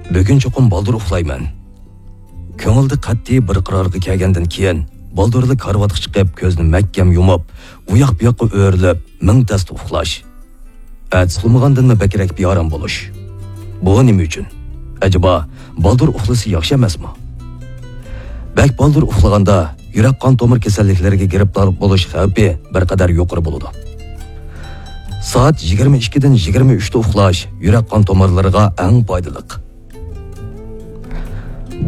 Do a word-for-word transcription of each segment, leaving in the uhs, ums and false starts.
بۈگۈن چوقۇم بالدۇر ئۇخلايمەن. كۆڭۈلدە قەتئىي بىر قارارغا كەلگەندىن كېيىن، بالدۇرلا كارىۋاتقا چىقىپ، كۆزنى مەھكەم يۇمۇپ، ئۇياق-بۇياققا ئۆرۈلۈپ، مىڭ تەستە ئۇخلاش. ئەتىسى ئۇخلىمىغاندىنمۇ بەكرەك بىئارام بولۇش. بۇ نېمە ئۈچۈن؟ ئەجەبا، بالدۇر ئۇخلىسا ياخشى ئەمەسمۇ؟ بەك بالدۇر ئۇخلىغاندا، يۈرەك قان تومۇر كېسەللىكلىرىگە گىرىپتار بولۇش خەۋپى بىر قەدەر يۇقىرى بولىدۇ. سائەت يىگىرمە ئىككىدىن يىگىرمە ئۈچتە ئۇخلاش يۈرەك قان تومۇرلىرىغا ئەڭ پايدىلىق.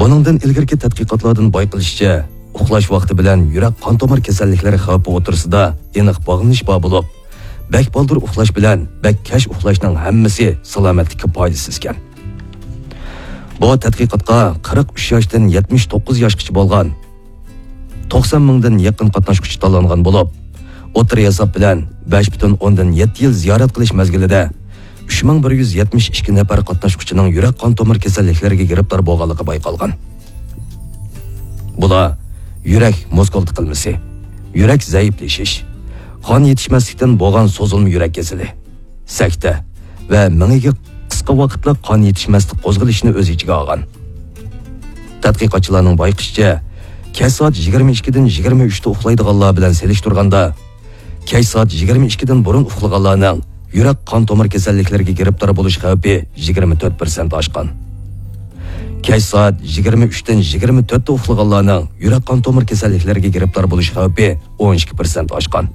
بۇنىڭدىن ئىلگىرىكى تەتقىقاتلاردىن بايقىلىشىچە، ئۇخلاش ۋاقتى بىلەن يۈرەك قان تومۇر كېسەللىكلىرى خەۋپى ئوتتۇرىسىدا ئېنىق باغلىنىش بار بولۇپ، بەك بالدۇر ئۇخلاش بىلەن بەك كەچ ئۇخلاشنىڭ ھەممىسى سالامەتلىككە پايدىسىز ئىكەن. بۇ تەتقىقاتقا قىرىق ئۈچ ياشتىن يەتمىش توققۇز ياشقىچە بولغان توقسان مىڭدىن يېقىن قاتناشقۇچى تاللانغان بولۇپ، ئوتتۇرا ھېساب بىلەن بەش پۈتۈن ئوندىن يەتتە يىل زىيارەت قىلىش مەزگىلىدە ئۈچ مىڭ بىر يۈز يەتمىش ئىككى نەپەر قاتناشقۇچىنىڭ يۈرەك قان تومۇر كېسەللىكلىرىگە گىرىپتار بولغانلىقى بايقالغان. بۇلار يۈرەك مۇسكۇل تىقىلمىسى، يۈرەك زەئىپلىشىش، قان يېتىشمەسلىكتىن بولغان سوزۇلما يۈرەك كېسىلى، سەكتە ۋە مېڭىگە قىسقا ۋاقىتلىق قان يېتىشمەسلىك قوزغىلىشىنى ئۆز ئىچىگە ئالغان. تەتقىقاتچىلارنىڭ بايقىشىچە، كەچ سائەت يىگىرمە ئىككىدىن يىگىرمە ئۈچتە ئۇخلايدىغانلار بىلەن سېلىشتۇرغاندا، كەچ سائەت يىگىرمە ئىككىدىن بۇرۇن ئۇخلىغانلارنىڭ يۈرەك قان تومۇر كېسەللىكلىرىگە گىرىپتار بولۇش خەۋپى يىگىرمە تۆت پىرسەنت ئاشقان. كەچ سائەت يىگىرمە ئۈچتىن يىگىرمە تۆتتە ئۇخلىغانلارنىڭ يۈرەك قان تومۇر كېسەللىكلىرىگە گىرىپتار بولۇش خەۋپى ئون ئىككى پىرسەنت ئاشقان.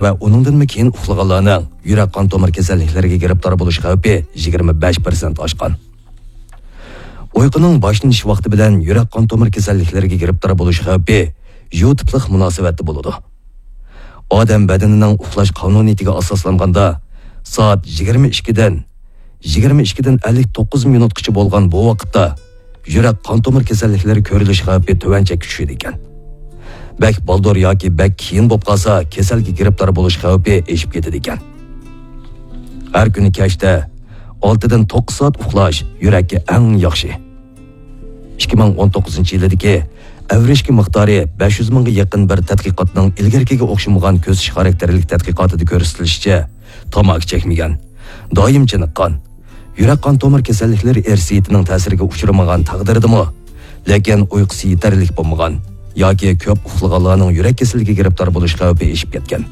ۋە ئۇنىڭدىنمۇ كېيىن ئۇخلىغانلارنىڭ يۈرەك قان تومۇر كېسەللىكلىرىگە گىرىپتار بولۇش خەۋپى يىگىرمە بەش پىرسەنت ئاشقان. ئۇيقۇنىڭ باشلىنىش ۋاقتى بىلەن يۈرەك قان تومۇر كېسەللىكلىرىگە گىرىپتار بولۇش خەۋپى يۇ تىپلىق مۇناسىۋەتتە بولىدۇ. ئادەم بەدىنىنىڭ ئۇخلاش قانۇنىيىتىگە ئاساسلانغاندا، سائەت يىگىرمە ئىككىدىن، يىگىرمە ئىككىدىن ئەللىك توققۇز مىنۇتقىچە بولغان بۇ ۋاقىتتا يۈرەك قان تومۇر كېسەللىكلىرى كۆرۈلۈش خەۋپى تۆۋەنچەككە چۈشىدىكەن. بەك بالدۇر ياكى بەك كېيىن بولۇپ قالسا، كېسەلگە گىرىپتار بولۇش خەۋپى ئېشىپ كېتىدىكەن. ھەر كۈنى كەچتە ئالتىدىن توققۇز سائەت ئۇخلاش يۈرەككە ئەڭ ياخشى. ئىككى مىڭ ئون توققۇزىنچى يىلىدىكى ئەۋرىشكە مىقدارى بەش يۈز مىڭغا يېقىن بىر تەتقىقاتنىڭ ئىلگىرىكىگە ئوخشىمىغان كۆزىتىش خاراكتېرلىك تەتقىقاتىدا كۆرسىتىلىشىچە، تاماكا چەكمىگەن، دائىم چېنىققان، يۈرەك قان تومۇر كېسەللىكلىرى ئىرسىيىتىنىڭ تەسىرىگە ئۇچرىمىغان تەقدىردىمۇ، لېكىن ئۇيقۇسى يېتەرلىك بولمىغان ياكى كۆپ ئۇخلىغانلارنىڭ يۈرەك كېسىلىگە گىرىپتار بولۇش خەۋپى ئېشىپ كەتكەن.